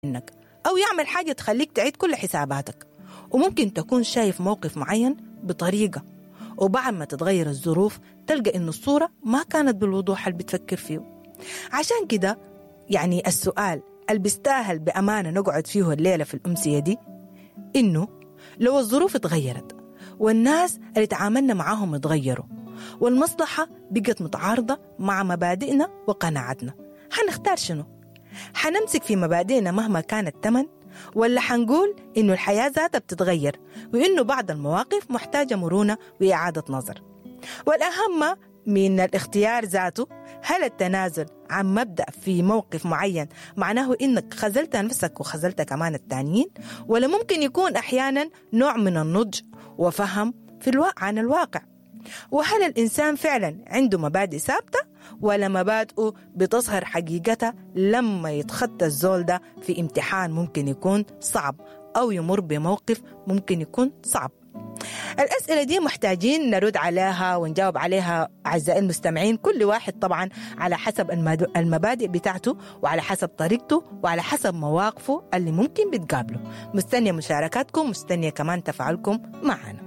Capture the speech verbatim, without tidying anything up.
منك أو يعمل حاجة تخليك تعيد كل حساباتك. وممكن تكون شايف موقف معين بطريقة، وبعد ما تتغير الظروف تلقى إنه الصورة ما كانت بالوضوح اللي بتفكر فيه. عشان كده يعني السؤال اللي بيستاهل بأمانة نقعد فيه الليلة في الأمسية دي، إنه لو الظروف اتغيرت والناس اللي تعاملنا معاهم اتغيروا والمصلحة بقت متعارضة مع مبادئنا وقناعتنا، حنختار شنو؟ حنمسك في مبادئنا مهما كان الثمن، ولا حنقول إنه الحياة ذاتها بتتغير وإنه بعض المواقف محتاجة مرونة وإعادة نظر؟ والأهم من الاختيار ذاته، هل التنازل عن مبدأ في موقف معين معناه إنك خذلت نفسك وخذلت كمان التانيين، ولا ممكن يكون أحيانا نوع من النضج وفهم في الوا-، عن الواقع؟ وهل الإنسان فعلا عنده مبادئ ثابتة، ولا مبادئه بتظهر حقيقتها لما يتخطى الزول ده في امتحان ممكن يكون صعب أو يمر بموقف ممكن يكون صعب؟ الأسئلة دي محتاجين نرد عليها ونجاوب عليها أعزائي المستمعين، كل واحد طبعا على حسب الماد-، المبادئ بتاعته وعلى حسب طريقته وعلى حسب مواقفه اللي ممكن بتقابله. مستنية مشاركاتكم، مستنية كمان تفاعلكم معنا.